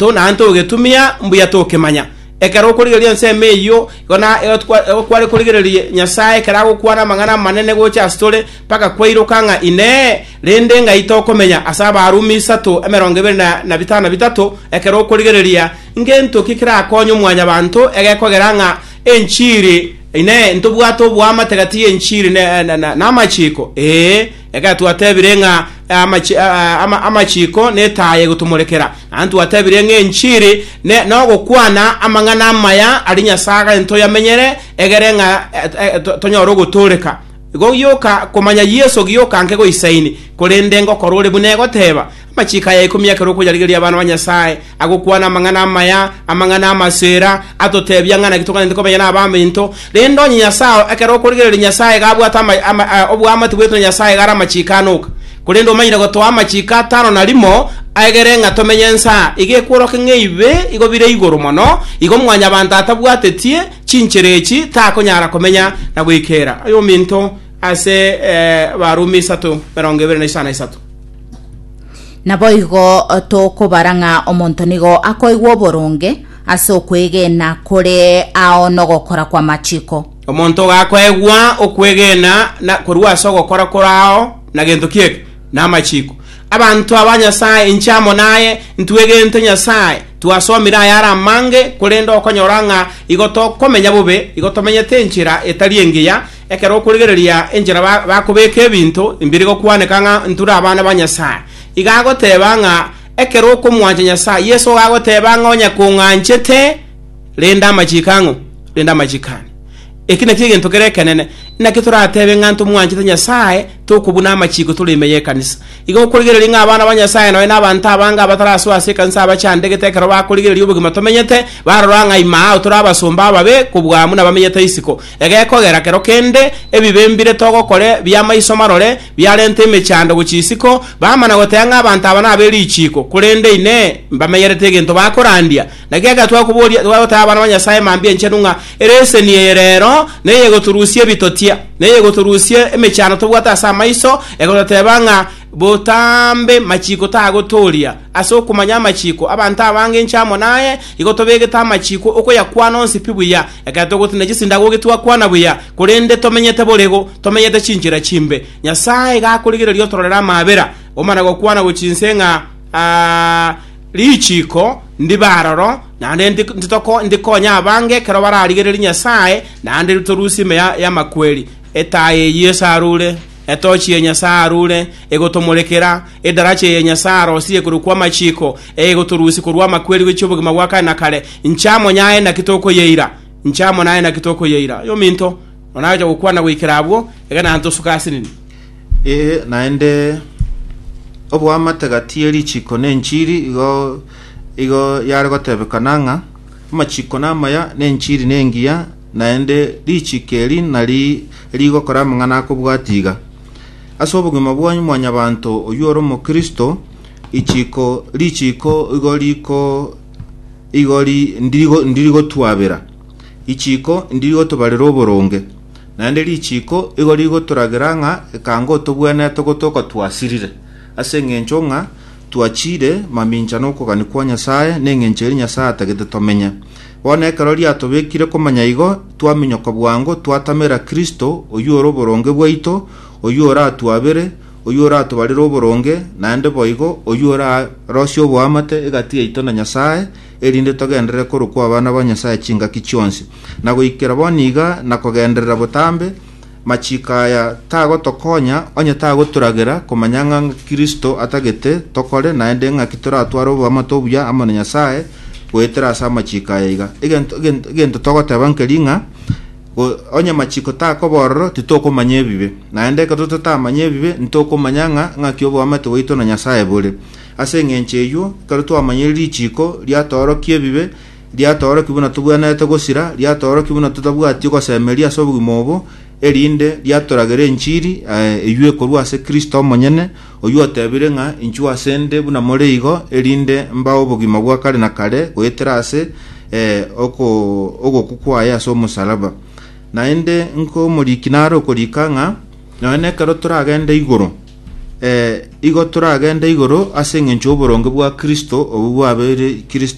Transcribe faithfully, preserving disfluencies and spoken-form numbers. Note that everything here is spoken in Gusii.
Naende togetumia mbuya tokemanya. Ekero okorigereria ensemo eyio, igo na igo twa igo kware korigereria Nyasae ekero agokwana amang'ana amanene gocha ase tore, mpaka kwairoka ng'a Inee, rende ng'ai tokomenya? Ase Abarumi isato emerongo ebere na na bitano na bitato, ekero okorigereria, ngento ki kerakonye omwanyabanto egekogera ng'a enchiri, Inee, ntobwate oboamate gati y'enchiri na na na namachiko? Ee, ekero twatebire ng'a amachi ama amachiko netaya egotomorekera, naende twatebire ng'a enchiri ne nogokwana amang'ana amaya aria Nyasae agare ntoyamenyere, egere ng'a tonyore ogotooreka. Igo gioka komanya Yeso gioka nke goisaini, korende ngokora ore buna egoteba. Amachiko aya ikomi ekero okoyarigereria abana ba Nyasae, agokwana amang'ana amaya, amang'ana amasera, atotebia ng'a naki toganete komenya nabaminto. Rende onye Nyasae ekero okorigereria Nyasae iga abwate ama ama oboamate bwaito na Nyasae iga are amachiko ane oka. Korende omanyire gotoa amachiko atano na rimo, aegere ng'a tomenye ense aa. Iga ekworokia ng'a ebibe igo bire igoro mono, igo mwanyabanto atabwatetie chinchera echi takonyara komenya na goikera. Aye ominto, ase Abarumi isato emerongo ebere na isano na isato. Naboigo tokobara ng'a omonto nigo akoigwa oboronge ase okwegena kore ao nogokora kw'amachiko. Omonto gakoegwa okwegena na korwa ase ogokora kore ao na gento kieke na amachiko. Abanto aba Nyasae, inche amo naye ntwegente Nyasae, twasomire ayare amange, korende okonyora ng'a igo tokomenya bobe, igo tomenyete enchera etari engiya. Ekero okorigereria enchera bakobeka ebinto mbiri gokwaneka ng'a nture abana ba Nyasae. Iga agoteba ng'a ekero okomwancha Nyasae, Yeso agoteba ng'a onye kong'anchete, renda amachiko ang'o? Renda amachiko ane. Eki nakio egento kere ekenene. Naki toratebe ng'a ntomwanchete Nyasae tokobuna amachiko tore ime y'ekanisa? Igo okorigereria ng'a abana ba Nyasae nonya na abanto abange abatarasoa ase ekanisa abachandegete ekero bakorigereria obogima tomenyete, barora ng'a ime ao tore abasomba ababe kobua buna bamenyete isiko. Egekogera kero kende ebibe mbire togokore bi'amaiso marore biarenta emechando gochia isiko, bamana goteba ng'a abanto aba nabe richiiko, korende inee, mbamenyerete egento bakorandia? Naki ekero twakoboria twagoteba abana ba Nyasae mambia enchenu ng'a ereseni eye rero neyegotorusia ebitotia, neyegotorusia emechando tobwate ase amaiso, egototeba ng'a botambe machiko tagotooria. Ase okomanya amachiko, abanto abange inche amo naye, igo tobegete amachiko okoyakwana onsi pi buya, ekero togotinda chisindagogi twakwana buya, korende tomenyete borego, tomenyete chinchera chimbe. Nyasae iga akorigereria otororere amabera, omana gokwana gochia inse ng'a richiko ndibe aroro, naende ndikonye abange ekero bararigererie Nyasae, naende ritorusie ime y'amakweri. Etaya eyio esarure, etochi ya Nyasae arure, egotomorekera, edaracha eye Nyasae arosirie korokwa amachiko, egotorusia korwa amakweri gochia obogima bwa kare na kare. Inche amo naye naki tokoyeira? Inche amo naye naki tokoyeira? Oyominto, onagocha gokwana goikera abwo, iga naende tosuka asinini. Ee, naende oboamate gati ye richiko na enchiri igo igo yare gotebekana ng'a amachiko namaya na enchiri nengiya, naende richiko eri nari rigokora amang'ana akobwati iga. Ase obogima bwa mwanyabanto oywo ore omokristo, ichiko richiko igo riko igo ndirigotwabera, ichiko ndirigotobarera oboronge, naende richiko igo rigotoragera ng'a ekango otobwenerete gotoka twasirire, ase eng'encho ng'a twachire mamincha nokogani kwa Nyasae na eng'encho eri Nyasae atagete tomenye. Bono ekero riatobekire komanya igo, twaminyoka bwango twatamera Kristo oywo ore oboronge bwaito, oywo oratwabere, oywo oratobarere oboronge, naende boigo oywo orarosie oboamate egati yaito na Nyasae, erinde togenderere korokwa abana ba Nyasae chingaki chionsi. Na goikera bono iga na kogenderera botambe, machiko aya tagotokonya onye tagotoragera komanya ng'a Kristo atagete tokore, naende ng'aki toratware oboamate obuya amo na Nyasae goetera ase amachiko aya iga. Egento egento togoteba nkeri ng'a onye machiko takoba ororo titokomanya ebibe, naende ekero totamanya ebibe ntokomanya ng'a ng'aki oboamate bwaito na Nyasae bore. Ase eng'encho eywo, ekero twamanyire richiko riatoorokia ebibe, riatoorokia buna tobwenerete gosira, riatoorokia buna totabwati ogosemeria ase obogima obo, erinde riatoragera enchiri eywo ekorwa ase Kristo omonyene, oywo otebire ng'a inchuo ase nde buna more igo, erinde mbae obogima bwa kare na kare goetera ase ogokwa kwaye ase omosalaba. Naende nko omoriki nare okorika ng'a nonya nekero toragende igoro, Eh, igo toragenda igoro ase eng'encho oboronge bwa Kristo obu bwabeire Kristo.